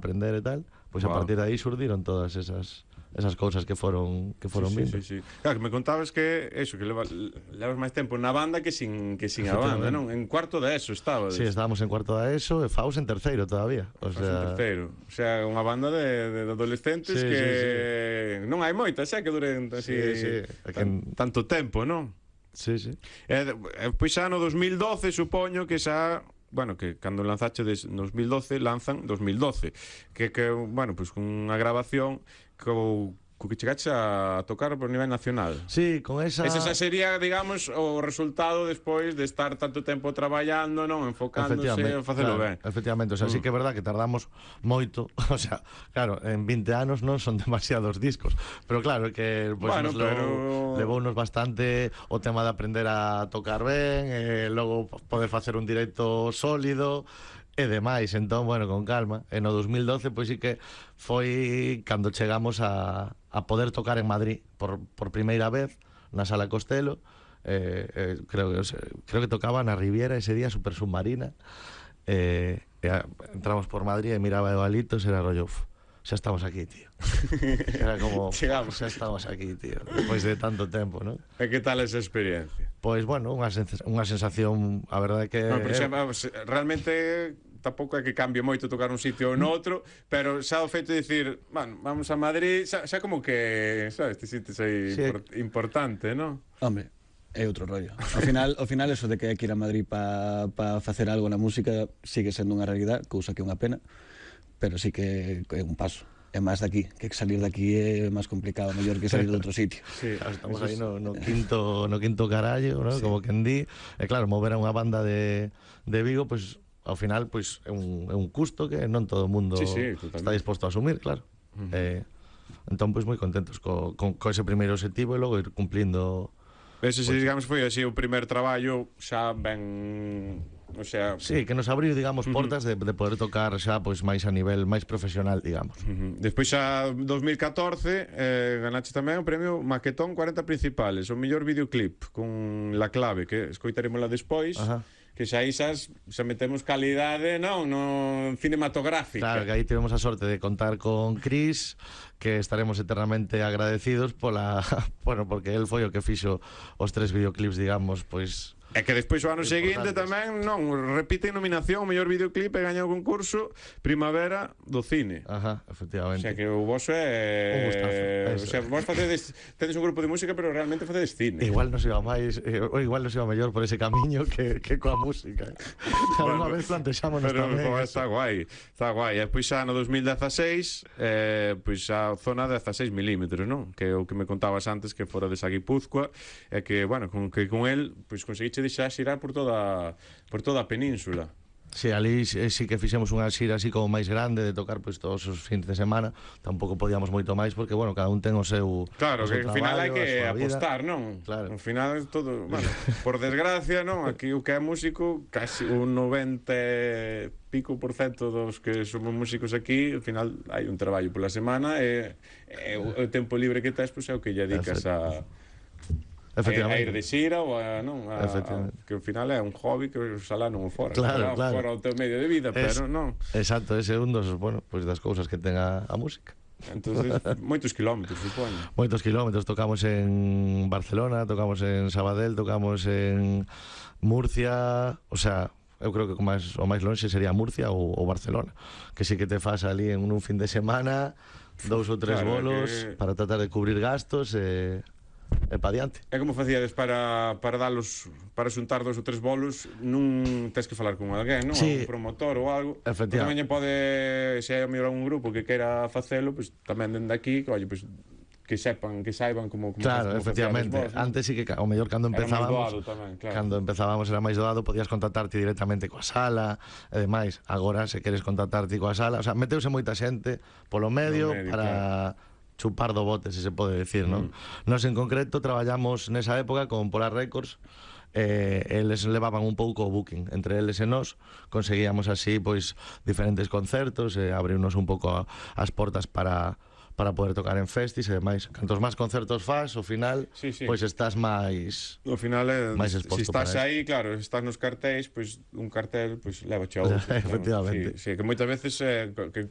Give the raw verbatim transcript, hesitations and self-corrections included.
aprender e tal, pois a Wow. partir de aí surdiron todas esas esas cousas que foron que foron sí, vindo. sí, sí, sí. Claro, que me contabas que eso, que leva, levas máis tempo na banda que sin que sin a banda, non? En cuarto de eso estaba. Sí, estábamos en cuarto da ESO e Faus en terceiro todavía. O Faz sea, un terceiro. O sea, unha banda de, de adolescentes Sí, que sí, non hai moitas, xa que duren así Sí, sí. É que- tan, tanto tempo, non? sí, sí. E, e pois xa no dos mil doce supoño que xa, bueno, que cando lanzache des dos mil doce lanzan dos mil doce, que que bueno, pois con unha grabación co co que chegaches a tocar por nivel nacional. Sí, con esa... Ese xa sería, digamos, o resultado despois de estar tanto tempo traballando, non, enfocándose a facelo claro, ben. efectivamente, o sea, Mm. sí que é verdad que tardamos moito, o sea, claro, en vinte anos non son demasiados discos, pero claro, que pues, Bueno, nos levou, pero- levounos bastante o tema de aprender a tocar ben, e logo poder facer un directo sólido e demais, entón, bueno, con calma. E no dos mil doce, pois sí que foi cando chegamos a, a poder tocar en Madrid por, por primeira vez na Sala Costello. Eh, eh, creo que o sea, creo que tocaba na Riviera ese día, Super Submarina. Eh, e a, entramos por Madrid e miraba a Evalitos, era rollo, "Uf, xa estamos aquí, tío". Era como, Chegamos. xa estamos aquí, tío, despois de tanto tempo, ¿no? E que tal esa experiencia? Pois, bueno, unha, sens unha sensación, a verdade que... No, pero xa, vamos, realmente tampouco é que cambie moito tocar un sitio ou noutro, pero xa o feito de dicir, bueno, vamos a Madrid, xa, xa como que, sabes, te sientes aí Sí. import, importante, non? Hombre, é outro rollo. Ao final, ao final eso de que hai que ir a Madrid para pa facer algo na música sigue sendo unha realidade, cousa que é unha pena, pero sí que é un paso. É máis daqui, que salir daqui é máis complicado, mellor que salir de outro sitio. Sí, Claro, estamos aí no, no quinto no quinto carallo, ¿no? Sí. Como quen di. E claro, mover a unha banda de, de Vigo, pois, pues, ao final, pois, pues, é un, é un custo que non todo o mundo Sí, sí, totalmente. está disposto a asumir, claro. Uh -huh. eh, entón, pois, pues, moi contentos co, co, co ese primeiro objetivo e logo ir cumplindo. Ese, se, digamos, foi así o primer traballo xa ben, o sea... Sí, que nos abriu, digamos, portas uh -huh. de, de poder tocar xa, pois, máis a nivel máis profesional, digamos. Uh -huh. Despois xa dos mil catorce eh, ganache tamén o premio Maquetón cuarenta principales, o mellor videoclip con La Clave, que escoitarémola despois. Ajá. Que xa aí xa, xa metemos calidade, non, no cinematográfica. Claro, que aí tivemos a sorte de contar con Cris, que estaremos eternamente agradecidos pola, bueno, porque él foi o que fixo os tres videoclips, digamos, pois... É que despois o ano seguinte importantes. tamén, non, repite nominación, o mellor videoclip e gaña o concurso Primavera do Cine. Ajá, O efectivamente. sea que o vosso é... Un gustazo, O sea, vos facedes, tedes un grupo de música, pero realmente facedes cine. Igual nos iba máis, eh, ou igual nos iba mellor por ese camiño que, que coa música. Alguna Bueno, vez plantexámonos pero tamén. jo, está guai, está guai. E pois xa no dos mil dezaseis, eh, pois xa zona dezaseis milímetros, non? Que é o que me contabas antes, que fora de Guipúzcoa, e que, bueno, con, que con el, pois conseguiche deixar xirar por toda, por toda a península. Sí, ali sí, sí que fixemos unha xira así como máis grande de tocar pois todos os fins de semana. Tampouco podíamos moito máis porque, bueno, cada un ten o seu Claro, o seu que ao final hai traballo, que a súa vida. apostar, non? Claro. Ao final todo, bueno, por desgracia, non? Aquí o que é músico, casi un noventa e pico por cento dos que somos músicos aquí, ao final hai un traballo pola semana e, e o, o tempo libre que tes, pois é o que lle dedicas a Efectivamente. a ir de xira ou a, non, a, a, Efectivamente. que ao final é un hobby que oxalá non o fora, Claro, oxalá claro. fora o teu medio de vida, Es- pero non. Exacto, ese é un dos, bueno, pois das cousas que ten a, a música. Entonces, moitos kilómetros, supoño. Moitos kilómetros, tocamos en Barcelona, tocamos en Sabadell, tocamos en Murcia, o sea, eu creo que o máis, o máis lonxe sería Murcia ou, ou Barcelona, que sí que te fas ali en un fin de semana, dous ou tres Claro, bolos que- para tratar de cubrir gastos e, e pa diante. E como facíades para, para dalos, para xuntar dos ou tres bolos? Non tes que falar con alguén, non? Sí. Un promotor ou algo. Efectivamente. Porque tamén lle pode, se hai a mellor un grupo que queira facelo, pois tamén dende aquí, que, oye, pois, que sepan, que saiban como, como Claro, como efectivamente. facíades vos, non? Antes sí que, ca- o mellor cando Era máis empezábamos, doado tamén, claro. cando empezábamos era máis doado, podías contactarte directamente coa sala e demais. Agora, se queres contactarte coa sala, o sea, meteuse moita xente polo medio, medio, para chupar do bote, se se pode decir, non? Mm. Nos en concreto traballamos nesa época con Polar Records. Eh, eles levaban un pouco o booking entre eles e nós, conseguíamos así pois diferentes concertos e abriunos un pouco a, as portas para para poder tocar en festis e demais. Cantos máis concertos faz, ao final, Sí, sí. pois estás máis... No final, é, máis se exposto estás para aí, claro, se estás nos cartéis, pois un cartel, pois leva a outro. Efectivamente. Non? Sí, sí, que moitas veces eh, que